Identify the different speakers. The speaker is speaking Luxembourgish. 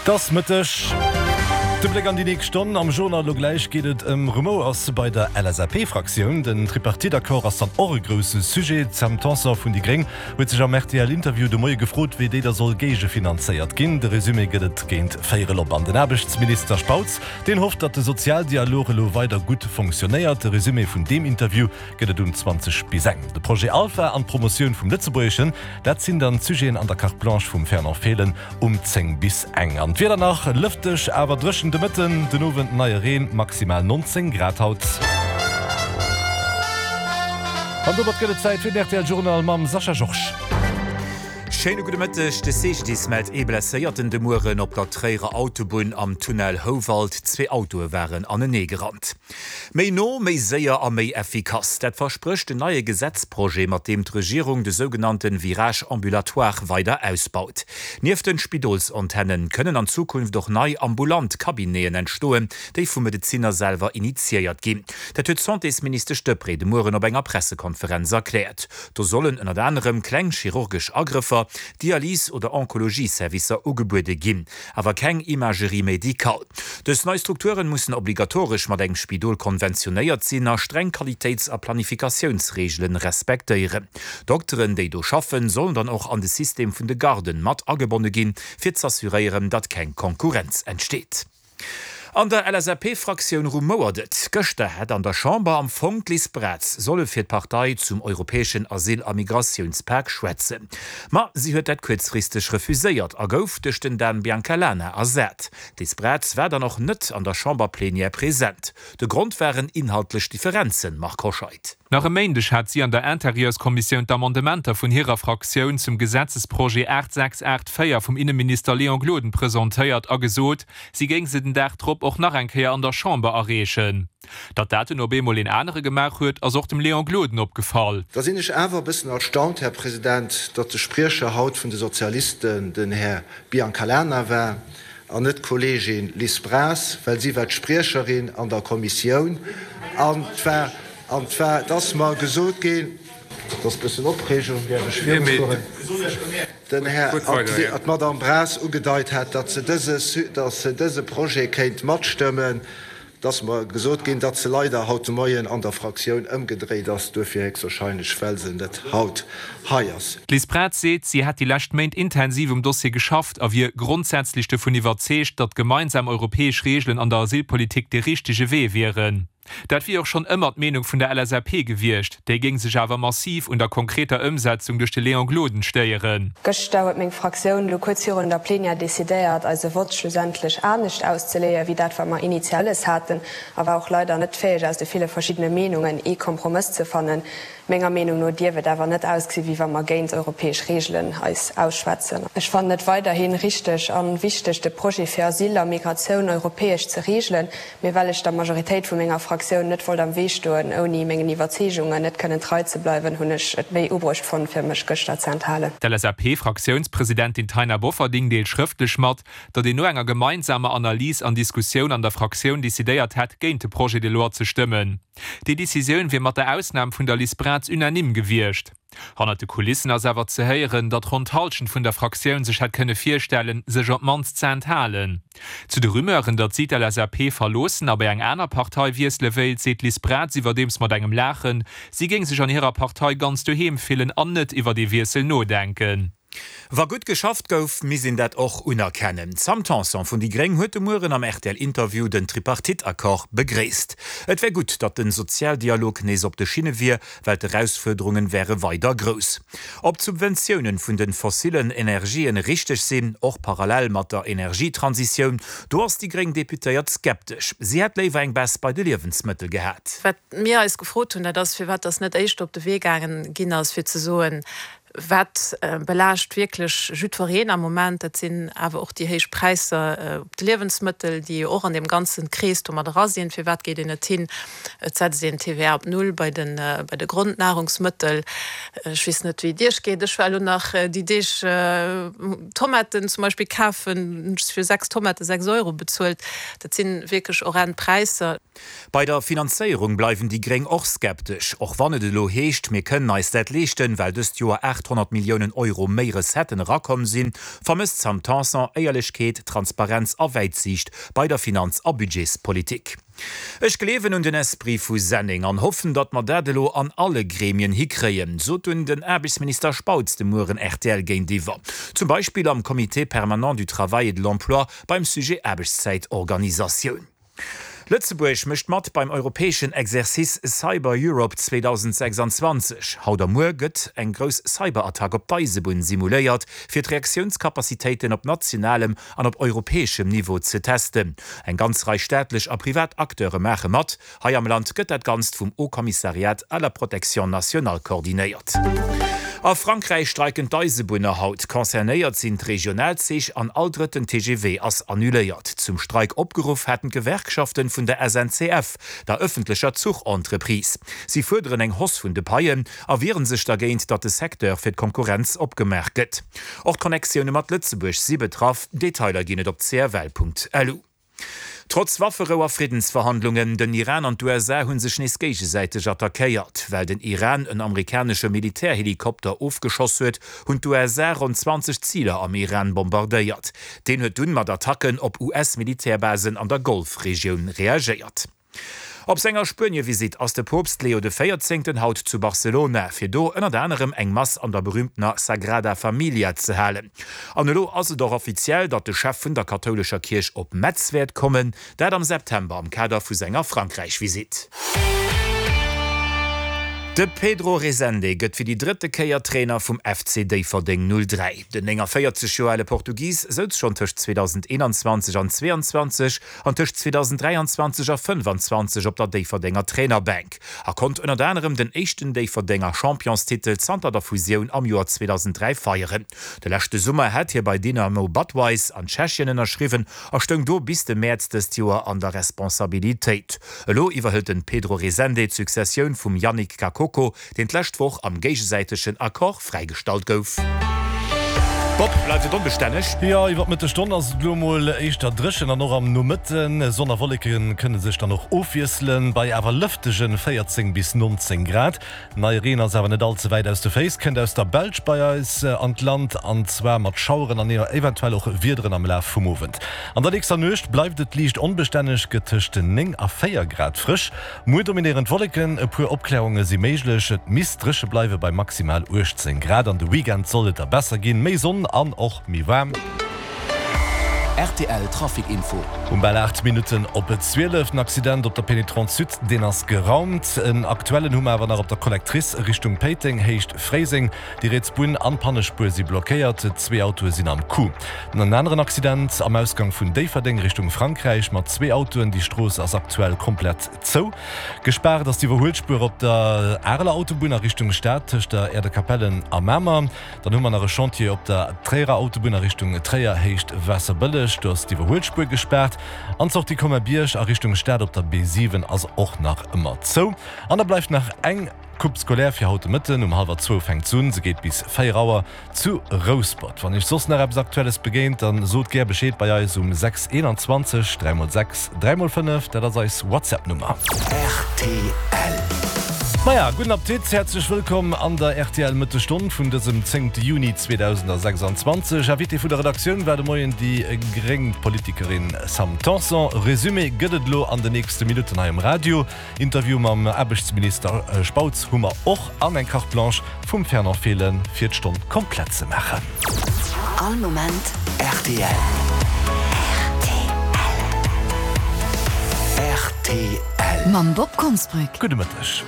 Speaker 1: Et ass Mëtteg. De Bléck an déi nächst Stonn am Journal. Elo gläich geet et ëm Rumouers bei der LSAP-Fraktioun. Den Tripartite-Accord ass dann och e grousse Sujet. D'Sam Tanson vun déi Gréng huet sech am RTL-Interview de Moie gefrot, wéi déi da soll géigefinanzéiert ginn. De Resumé gëtt et géint véierel op. An den Aarbechtsminister Spautz, deen hofft, datt de Sozialdialog elo weider gutt fonctionnéiert. De Resumé vun deem Interview gëtt et um 20 bis eng. De Projet Alpha an d'Promotioun vum Lëtzebuergeschen, dat sinn dann d'Sujeten an der Carte Blanche vum Fernand Fehlen um 10 bis eng. An d'Wieder nach, Lëfteg, awer dréchen de Mëtten, den Owend neie Reen, maximal 19 Grad haut. An domat gëtt et Zäit fir den rtl Journal mam Sascha Georges.
Speaker 2: Schéine gudde Mëtteg. De CGDIS mellt ee Blesséierten de Mueren op der Tréierer Autobunn am Tunnel Houwald. Zwee Autoe waren anenee gerannt. Méi no, méi séier a méi effikass, dat versprécht den neie Gesetzprojet, mat deem d'Regierung de sougenannte Virage ambulatoire weider ausbaut. Nieft den Spidolsantennen kënnen an Zukunft och nei ambulant Cabineten entstoen, déi vu Medezinner selwer initiéiert ginn. Dat huet d'Santésministesch Deprez de Mueren op enger Pressekonferenz erkläert. Do sollen ënnert anerem kleng chirurgesch Agrëffer, Dialys oder Onkologie-Servicer ugebuede ginn. Awer keng Imagerie médicale. Dës nei Strukturen mussen obligatoresch mat engem Spidol konventionéiert sinn a streng Qualitéits a Planifikatiounsreegelen respektéieren. D'Dokteren, déi do schaffen, sollen dann och an de System vun de Garden mat agebonne ginn, fir z'assuréieren, datt keng Konkurrenz entsteet. An der LSAP-Fraktioun rumouert et. Gëschter hätt an der Chamber am Fong d'Liz Braz solle fir d'Partei zum europäeschen Asyl a Migratiounspak schwätzen. Ma si huet dat kuerzfristeg refuséiert a gouf duerch den Dan Biancalana ersat. D'Liz Braz war dann och net an der Chamberplenière present. De Grond waren inhaltlech Differenzen, Marc Hoscheid.
Speaker 3: Nach e Méindeg hat si an der Intérieurskommissioun d'Amendementer vun hirer Fraktioun zum Gesetzesprojet 8684 vum Inneminister Léon Gloden presentéiert a gesot, si géing se den Dag drop och nach eng Kéier an der Chamber areechen. Datt dat dunn op eemol een anere gemaach huet, ass och dem Léon Gloden opgefall.
Speaker 4: Da sinn ech awer e bëssen erstaunt, Här President, datt de Spriecher haut vun de Sozialisten den Här Biancalana war an net d'Kolleegin Liz Braz, well si war d'Spriecherin an der Kommissioun an et war, an et war, et ass mer gesot ginn, et ass e bëssen Opreegung, däerf ech virufueren, den Här, an d'Madame Braz ugedeit hat, datt se dëse, datt se dëse Projet kéint matstëmmen. Et ass mer gesot ginn, datt se leider haut de Moien an der Fraktioun ëmgedréit ass, duerfir héchstwahrscheinlech, well se net haut hei ass.
Speaker 3: D'Liz Braz seet, si hätt déi lescht Méint intensiv um Dossier geschafft a wier grondsätzlech dovun iwwerzeegt, datt gemeinsam europäesch Reegelen an der Asylpolitik dee richtege Wee wieren. Dat wier och schonn ëmmer d'Meenung vun der LSAP gewiescht, déi géing sech awer massiv un der konkreter Ëmsetzung duerch de Léon Gloden stéieren.
Speaker 5: Gëschter huet meng Fraktioun elo kuerz virun der Plenière decidéiert, eise Vott schlussendlech anescht auszeleeën, wéi dat, wat mer initial wëlles haten, a war och leider net fäeg, aus de ville verschiddene Meenungen ee Kompromëss ze fannen. Menger Meenung no dierf et awer net ausgesi wéi wa mer géint europäesch Reegelen eis ausschwätzen. Ech fannen et weiderhi richteg a wichteg, de Projet fir Asyl a Migratioun europäesch ze reegelen, mee well ech der Majoritéit vu menger Fraktioun net wollt am Wee stoen, ouni mengen Iwwerzeegungen net kënnen trei ze bleiwen, hunn ech et méi ubruecht fonnt, fir mech gëschter ze enthalen.
Speaker 3: D'LSAP-Fraktiounspresidentin Taina Bofferding deelt schrëftlech mat, datt een no enger gemeinsamer Analys an Diskussioun an der Fraktioun decidéiert hätt, géint de Projet de loi ze stëmmen. Déi Decisioun wier mat der Ausnam vun der Liz Braz unanime gewiescht. Hannert de Kulissen ass awer ze héieren, datt ronn d'Hallschent vun der Fraktioun sech hätt kënne virstellen, sech op d'mannst ze enthalen. Zu de Rumeuren, datt si d'LSAP verloossen a bei eng aner Partei wiessele wéilt, seet d'Liz Braz iwwerdeems mat engem Laachen, si géing sech an hirer Partei ganz doheem fillen an net iwwert ee Wiessel nodenken.
Speaker 2: Wa gutt geschafft gouf, misst een dat och unerkennen. D'Sam Tanson vun déi Gréng huet de Mueren am RTL-Interview den Tripartite-Accord begréisst. Et wär gutt, datt den Sozialdialog nees op de Schinne wier, well d'Erausfuerderungen wäre weider grouss. Ob d'Subventiounen vun den fossillen Energien richteg sinn, och parallel mat der Energietransitioun, do ass déi gréng Deputéiert skeptesch. Si hätt léiwer eng Baisse bei de Liewensmëttel gehat.
Speaker 6: Wat mir eis gefrot hunn, dat ass, firwat dass net éischter op de Wee gaangen ginn ass, fir ze soen, Wat belaascht wierklech jiddwereen am Moment, dat sinn awer och déi héich Präisser op de Liewensmëttel, déi jo och an deem ganze Krees do mat era sinn. Firwat geet een net hin, et setzt een d'TVA op Null bei de bei de Grondnahrungsmëttel? Ech weess net, wéi et Iech geet, ech war elo nach déi Deeg Tomaten zum Beispill kafen, hunn ech fir 6 Tomate 6 Euro bezuelt. Dat si wierklech horrend Präisser.
Speaker 2: Bei der Finanzéierung bleiwen déi Gréng och skeptesch, och wann et elo heescht, mir kënnen eis dat leeschten, well dëst Joer 8. 800 Milliounen Euro méi Recetten erakomm sinn, vermësst d'Sam Tanson Éierlechkeet, Transparenz a Wäitsiicht bei der Finanz a Budgetspolitik. Ech gleewen un den Esprit vu Senneng an hoffen, datt mer dat elo an alle Gremien hikréien, sot dunn den Aarbechtsminister Spautz de Mueren rtl géintiwwer. Zum Beispill am Comité permanent du travail et de l'emploi beim Sujet Aarbechtszäitorganisatioun. Lëtzebuerg mécht mat beim europäeschen Exercice Cyber Europe 2026. Haut a muer gëtt eng grouss Cyberattack op d'Eisebunn simuléiert, fir d'Reaktiounskapazitéiten op nationalem an op europäeschem Niveau ze testen. Eng ganz Rei staatlech a privat Acteure maache mat. Hei am Land gëtt dat Ganzt vum Haut Commissariat à la protection nationale koordinéiert. A Frankräich streiken d'Eisebunner haut. Concernéiert sinn d'Regionalzich an all drëtten TGV ass annuléiert. Zum Streik opgeruff haten d'Gewerkschaften vun der SNCF, der ëffentlecher Zuchentreprise. Si fuerderen eng Hausse vun de Paien a wieren sech dergéint, datt de Secteur fir d'Konkurrenz opgemaach gëtt. Och d'Connectioune mat Lëtzebuerg si betraff. Detailer ginn et op cfl.lu. Trotz Wafferou a Friddensverhandlungen, den Iran an d'USA hu sech nees géigesäiteg attackéiert. Well den Iran en amerikanesche Militärhelikopter ofgeschoss huet, hunn d'USA ronn 20 Ziler am Iran bombardéiert. Deen huet dunn mat Attacken op US-Militärbasen an der Golfregioun reagéiert. Op senger Spuenie-Visitt ass de Poopst Leo de Véierzéngten haut zu Barcelona, fir do ënnert anerem eng Mass an der berüümtener Sagrada Familia ze halen. An elo ass et och offiziell, datt de Chef vun der kathoulescher Kierch op Metz wäert kommen, dat am September am Kader vu senger Frankräich-Visitt. De Pedro Resende gëtt fir déi drëtte Kéier Trainer vum FC Déifferdeng 03. Den 49 Joer ale Portugis souz schonn tëscht 2021 an 22 an tëscht 2023 a 25 op der Déifferdenger Trainerbänk a konnt ënnert anerem den éischten Déifferdenger Championstitel zanter der Fusioun am Joer 2003 feieren. De leschte Summer hat hie bei Dynamo Budweis an Tschechien ënnerschriwwen a stoung do bis de Mäerz dëst Joer an der Responsabilitéit. Elo iwwerhëlt den Pedro Resende d'Successioun vum Yannick Kakoko, deen d'lescht Woch am géigesäitegen Accord fräigestallt gouf. Bob, bleift et onbestänneg?
Speaker 1: Jo, iwwer d'Mëttesstonn ass et elo mol éischter dréchen an och am Nomëtten. Sonn a Wolleke kënne sech dann och ofwiesselen, bei awer lëftege 14 bis 19 Grad. Neie Reen ass awer net all ze wäit aus de Féiss, kënnt aus der Belsch bei eis an d'Land, an zwar mat Schaueren an eventuell och Wiederen am Laf vum Owend. An der nächster Nuecht bleift et liicht onbestänneg, gëtt tëscht 9 a 4 Grad frësch. Muer dominéieren d'Wolleken, e puer Opklärunge si méiglech. Et misst dréche bleiwe bei maximal 18 Grad. An de Weekend soll et da besser ginn, méi Sonn an och méi waarm.
Speaker 7: Rtl Trafic Info.
Speaker 1: Um bal 8 Minutten op 12 den Accident op der Pénétrante Sud, deen ass geraumt. En aktuellen hu mer awer nach op der Collectrice Richtung Péiteng, Héicht Fréiseng. Déi riets Bunn an d'Pannespuer si blockéiert, zwee Autoe sinn am Coup. En aneren Accident am Ausgang vun Déifferdeng Richtung Frankräich mat zwee Autoen. Déi Strooss ass aktuell komplett zou. Gespaart ass d'Iwwerhuelspuer op der Areler Autobunn a Richtung Stad tëscht der Aire-de-Capellen a Mamer. Dann hu mer nach e Chantier op der Tréierer Autobunn a Richtung Tréier, Héicht Waasserbëlleg. Do ass d'Iwwerhuelspuer gespaart. An d'Sortie Colmer-Bierg a Richtung Stad op der B7 ass och nach ëmmer zou. An da bleift nach eng. Coupe scolaire fir haut de Mëtten. Um hallwer zwou fänkt s'un, se geet bis 4 Auer zu Rouspert. Wann iech soss nach eppes Aktuelles begéint, dann sot gär Bescheed bei eis um 6 21 3 x 6 3 x 5, dat ass eis WhatsApp Nummer.
Speaker 7: Rtl.
Speaker 1: Maja, gudden Appetit, häerzlech wëllkomm an der rtl Mëttesstonn vun dësem 10 Juni 2026. Invité vun der Redaktioun war de Moien déi gréng Politikerin Sam Tanson. Resumé gëtt et elo an de nächste Minutten hei um Radio. Interview mam Aarbechtsminister Spautz hu mer och an eng Carte Blanche vum Fernand Fehlen fir d'Stonn komplett ze maachen.
Speaker 7: All Moment rtl. Rtl.
Speaker 8: Mam Bob Konsbrück.
Speaker 1: Gudde Mëtteg.